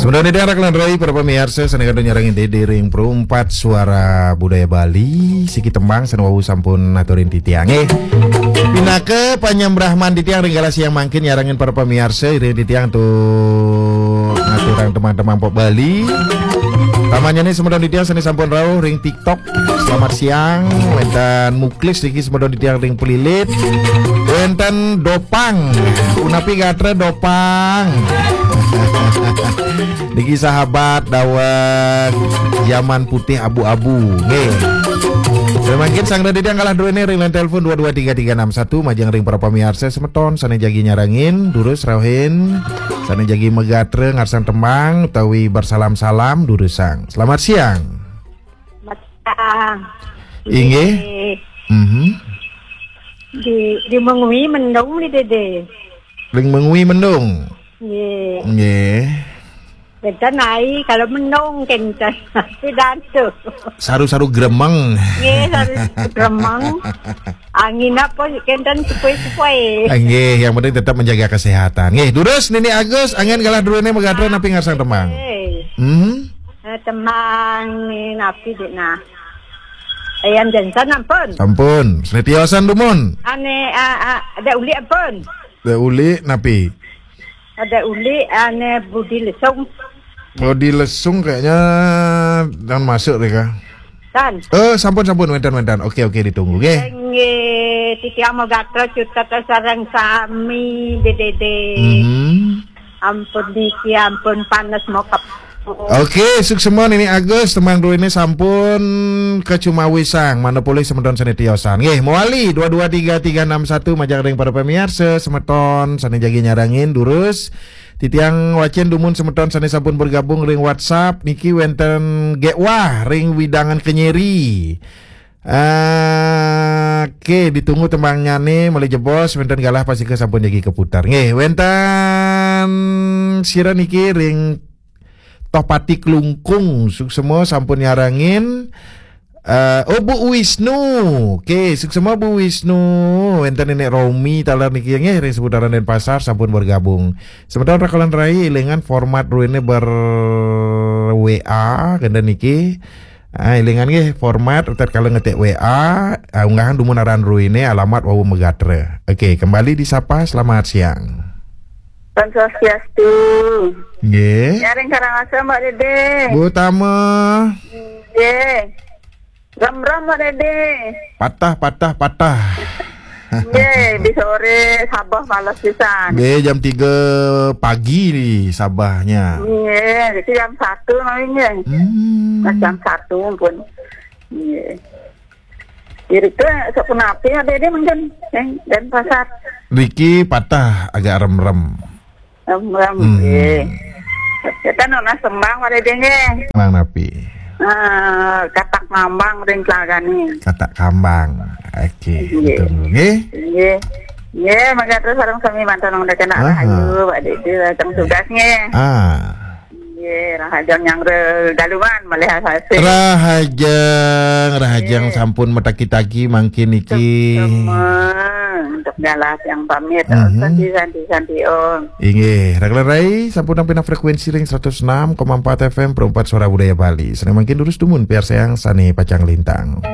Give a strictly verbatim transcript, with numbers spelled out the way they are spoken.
Semeton titiang rak ngranjai para pamiarsa sané kantun nyarengin Dédé ring Perumpat Suara Budaya Bali, siki tembang sané wau sampun aturin titiang. Eh, pinaka panyembrahman titiang ring galah siang mangkin nyarengin para pamiarsa, iring titiang tuh ngaturang tembang-tembang pop Bali. Tamannya nih semeton titiang sané sampun rauh ring TikTok. Selamat siang, wénten Muklis niki semeton titiang ring Pelilit. Wénten Dopang. Punapi gatra Dopang? Niki sahabat daweg zaman putih abu-abu. Nggih. Mangkin sang dadi galah druéné ring line telepon dua dua tiga tiga enam satu, majeng ring para pamiarsa semeton sané jagi nyarengin, durus rauhin, sané jagi magatra ngarsang tembang utawi bersalam-salam, durusang. Selamat siang. Selamat siang. Inggih. Dédé. Mhm. Di, di Mengwi mendung nih, Dédé. Ring Mengwi mendung. Nggih. Nggih. Kénten ai, kalau mendung kénten. Pidantu. Saru-saru gremeng. Nggih, saru gremeng. Angin apa kénten sepoi-sepoi. Ah, nggih, yang penting tetap menjaga kesehatan. Nggih, durus Nini Agus, anggén galah druéné magatra napi ngarsang tembang? Nggih. Hmm? Eh, tembang napi, Dik, nah. Ayan Jensen ampun. Sampun. Sané tiosan dumun. Ané, ah, ah, ada uli ampun. Ada uli napi? Ada uli ané Budi Lesung. Budi Lesung kayaknya jangan masuk deh, Kak. Kan? Eh, sampun, sampun, wénten, wénten. Oke, oke, ditunggu, nggih. Nggih, titiang magatra cutet sareng sami, Dédé. Mhm. Ampun niki, ampun panes mokep. Oke, suksma Nini Agus, tembang druéné sampun kacumawisang, manut polih semeton sané tiosan. Nggih, mawali dua dua tiga tiga enam satu, majeng ring para pamiarsa semeton sané jagi nyarengin, durus. Titiang wacén dumun semeton sané sampun bergabung ring WhatsApp, niki wénten Gék Wah ring Widangan Kemiri. Oke, ditunggu tembangnyané malih jebos, wénten galah pastika sampun jagi kaputar. Nggih, wénten sira niki ring Tohpati Klungkung, suksma sampun nyarengin. Eh, oh, Bu Wisnu. Oke, suksma Bu Wisnu. Wénten Nenek Romi taler niki nggih ring seputaran Denpasar sampun bergabung. Semeton rakelan rai, élingang format druéné ber W A, kénten niki. Ah, élingang nggih format, tatkala ngetik W A, ah, unggahang dumun aran druéné, alamat wau magatra. Oke, kembali disapa, selamat siang. Om Swastiastu. Nggih. Nyaring Karangasem, Mbak Dédé. Bu Tama. Nggih. Rem-rem, Mbak Dédé. Patah, patah, patah. Nggih, di sore sabah males pisan. Nggih, jam tiga pagi nih sabahnya. Nggih, itu jam satu namanya. Hmm. Nah, jam satu pun. Nggih. Jadi ke sok punapi ada dia mungkin, eh, Denpasar. Riki patah agak rem-rem. Rem-rem, hmm, nggih. Kita nunas tembang pada dia nggih. Tembang napi? Eh, Katak Ngambang ring Tlagani. Katak Kambang. Oke, nggih, ditunggu nggih. Nggih. Nggih, mangga terus sareng sami mantan wong kena. Aha. Rahayu, Pak Didi, datang tugas nggih. Ah. Nggih, rahajeng nyanggra daluman malih asasih. Rahajeng, rahajeng, nggih, sampun matagi-tagi mangkin niki. Sama untuk galah yang pamit. Mhm. Santi, santi, santi, Om. Inggih, rakelan rai sampun nampi frekuensi ring seratus enam koma empat F M Perumpat Suara Budaya Bali. Sané mangkin durus dumun piarsayang sané pacang lintang.